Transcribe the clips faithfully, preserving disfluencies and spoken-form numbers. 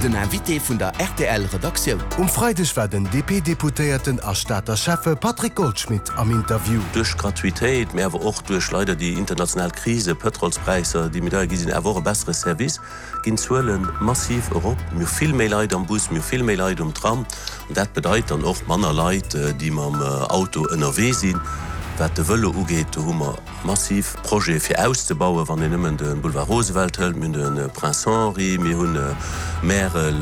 Den Invité vun der rtl Redaktioun. Um Freideg war den D P-Deputéierten a Stater Schäffe Patrick Goldschmidt am Interview. Duerch d'Gratuitéit, mee awer och duerch leider déi international Krise, Pëtrolspräisser, déi méi deier gi sinn, awer och e bessere Service, ginn d'Zuele massiv erop. Mir hu vill méi Leit am Bus, mir hu vill méi Leit um Tram. An dat bedeit dann och manner Leit, déi mam Auto ënnerwee sinn. Wat de Vëlo ugeet, do hu mer massiv Projete fir auszebauen, wann een nëmmen de Boulevard Roosevelt hëlt, mir hunn de Prince Henri, mir hunn Märel,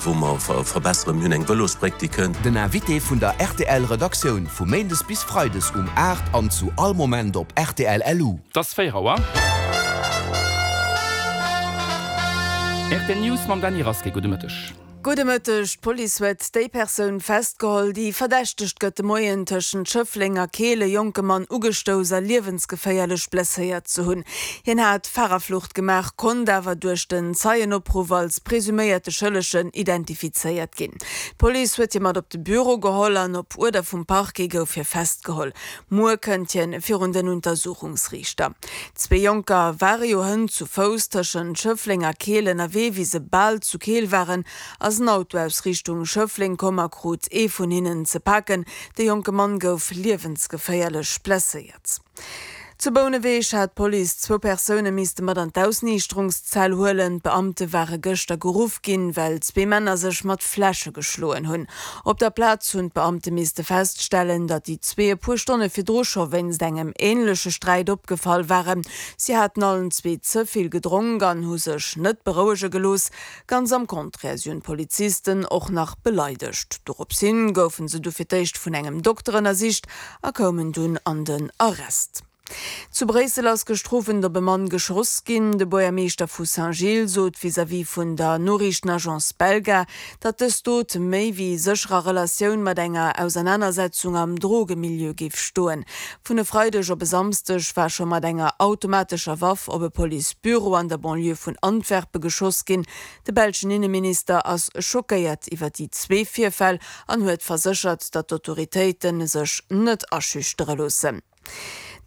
wou mer verbesseren, mir hunn eng Vëlosbréck, déi kënnt. Den Invité vun der rtl Redaktioun vu méindes bis freides um aacht an zu all Moment op rtl L U. Et ass véier Auer. Rtl News mam Dany Rasqué. Gudde Mëtteg. Gudde Mëtteg. D'Police huet déi Persoun festgeholl, déi verdächtegt gëtt, de Moien tëschent Schëffleng a Keel e jonke Mann ugestouss a liewensgeféierlech blesséiert ze hunn. Hien hat Farerflucht gemaach, konnt awer duerch den Zeienopruff als presuméierte Schëllegen identifizéiert ginn. D'Police huet hie mat op de Büro geholl an op Uerder vum Parquet gouf hie festgeholl. Muer kënnt hien virun den Untersuchungsriichter. Zwee Jonker ware jo hënt zu Fouss tëschent Schëffleng a Keel ënnerwee. Wéi se bal zu Keel waren, ass en Auto aus Richtung Schëffleng komm a krut ee vun hinnen ze paken. De jonke Mann gouf liewensgeféierlech blesséiert. Zu Bouneweg hat d'Police zwou Persoune misste mat an d'Ausniichterungszell huelen. D'Beamte ware gëschter geruff ginn, well zwee Männer sech mat Fläsche geschloen hunn. Op der Plaz hunn d'Beamte misste feststellen, datt déi zwee e puer Stonne virdru scho wéinst engem änleche Sträit opgefall waren. Si haten allen zwee ze vill gedronk an hu sech net berouege gelooss. Ganz am Contraire, si hunn d'Polizisten och nach beleidegt. Dorops hin goufen se du fir d'éischt vun engem Dokter ënnersicht a koumen dunn an den Arrest. Zu Bréissel ass gëschter Owend op e Mann geschoss ginn. De Buergermeeschter vu Saint-Gilles sot vis-à-vis vun der Noriichtenagence Belga, datt dës Dot méi wéi sécher a Relatioun mat enger Ausernanersetzung am Drogemilieu géif stoen. Vun e Freideg op e Samsdeg war scho mat enger automatescher Waff op e Policebüro an der Banlieue vun Antwerpe geschoss ginn. De belschen Inneminister ass schockéiert iwwer déi zwee Virfäll an huet verséchert, datt d'Autoritéite sech net aschüchtere loossen.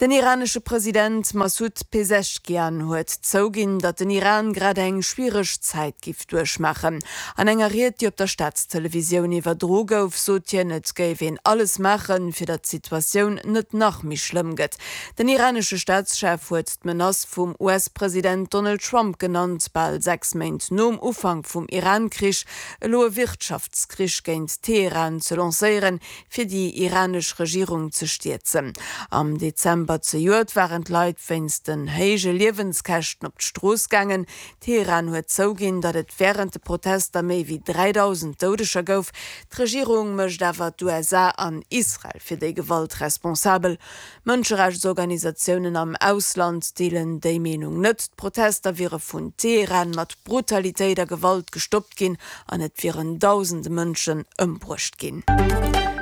Den iranesche President Massoud Peseschkian huet zouginn, datt den Iran grad eng schwiereg Zäit géif duerchmaachen. An enger Ried, déi op der Staatstelevisioun iwwerdroe gouf, sot hien, et géif een alles maachen, fir datt d'Situatioun net nach méi schlëmm gëtt. Den iranesche Staatschef huet d'Menace vum U S-President Donald Trump genannt, bal sechs Méint nom Ufank vum Iran-Krich elo e Wirtschaftskrich géint Teheran ze lancéieren, fir déi iranesch Regierung ze stierzen. Am Dezember zejoert waren d'Leit wéinst den héije Liewenskäschten op d'Strooss gaangen. Teheran huet zouginn, datt et wärend de Protester méi wéi dräidausend Doudeger gouf. D'Regierung mécht awer d'U S A an Israel fir déi Gewalt responsabel. Mënscherechtsorganisatiounen am Ausland deelen déi Meenung net. D'Protester wiere vun Teheran mat Brutalitéit a Gewalt gestoppt ginn an et wieren dausende Mënschen ëmbruecht ginn.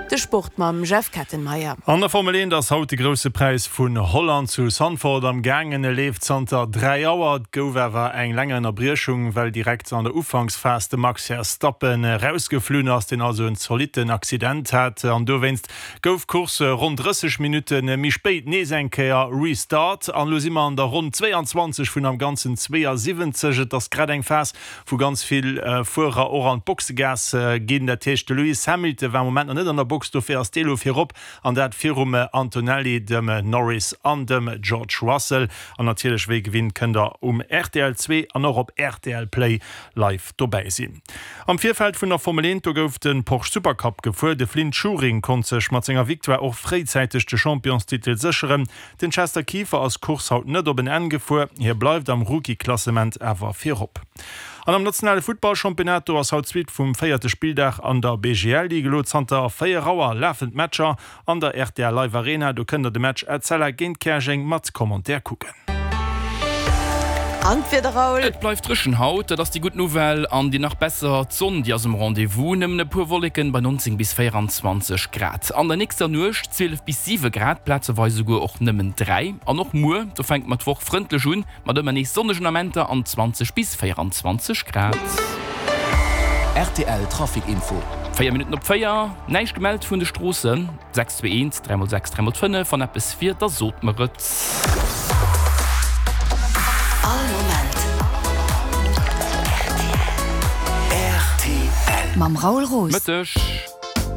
De Sport mam Jeff Kettenmeyer. An der Formel eent ass haut de Grousse Präis vun Holland zu Zandvoort am gaangen. E leeft zanter dräi Auer. Et gouf awer eng länger Ënnerbriechung, well direkt an der Ufanksphas de Max Verstappen erausgeflunn ass, deen also en zolitten Accident hat. An dowéinst gouf d'Course ronn drësseg Minutte méi spéit nees eng Kéier restart. An elo si mer an der Ronn zweeanzwanzeg vun am Ganzen zweeasiwwenzeg. Et ass grad eng Phas, wou ganz vill Fuerer och an d'Boxegaass ginn. Dat heescht, de Lewis Hamilton war am Moment nach net an der Box, dofir ass dee lo virop an dat virum Antonelli, dem Norris an dem George Russell. An natierlech wéi gewinnt kënnt der um R T L zwee an och op R T L Play live dobäi sinn. Am Virfeld vun der Formel eent, do gouf de Porsche Supercup gefuer. De Flynt Schuring konnt sech mat senger Victoire och fréizäiteg de Championstitel sécheren. Den Chester Kieffer ass d'Course haut net op en Enn gefuer, hie bleift am Rookie-Klassement awer virop. An am nationale Futtballchampionnat, do ass haut d'Suite vum véierte Spilldag an der B G L Ligue. Elo zanter véier Auer lafen d'Matcher an der R T L Live Arena. Do kënnt der de Match Etzella géint Käerjeng mat Commentaire kucken. An d'Wieder, Raoul? Et bleift dréchen haut, dat ass déi gutt Nouvelle. An déi nach besser, d'Sonn, déi ass um Rendez-vous. Nëmmen e puer Wolleken bei neunzéng bis véierenzwanzeg Grad. An der nächster Nuecht zwielef bis siwe Grad, plazeweis esouguer och nëmmen dräi. An och muer, do fänke mer d'Woch frëndlech un, mat ëmmer nees sonnegen Amenter an zwanzeg bis véierenzwanzeg Grad. R T L Trafic Info. Véier Minutten op véier, näischt gemellt vun de Stroossen. sechs zwee eent, dräi mol sechs, dräi mol fënnef, wann eppes wier, da sot mer et. All Moment. R T L. Mam Raoul Roos. Mëtteg.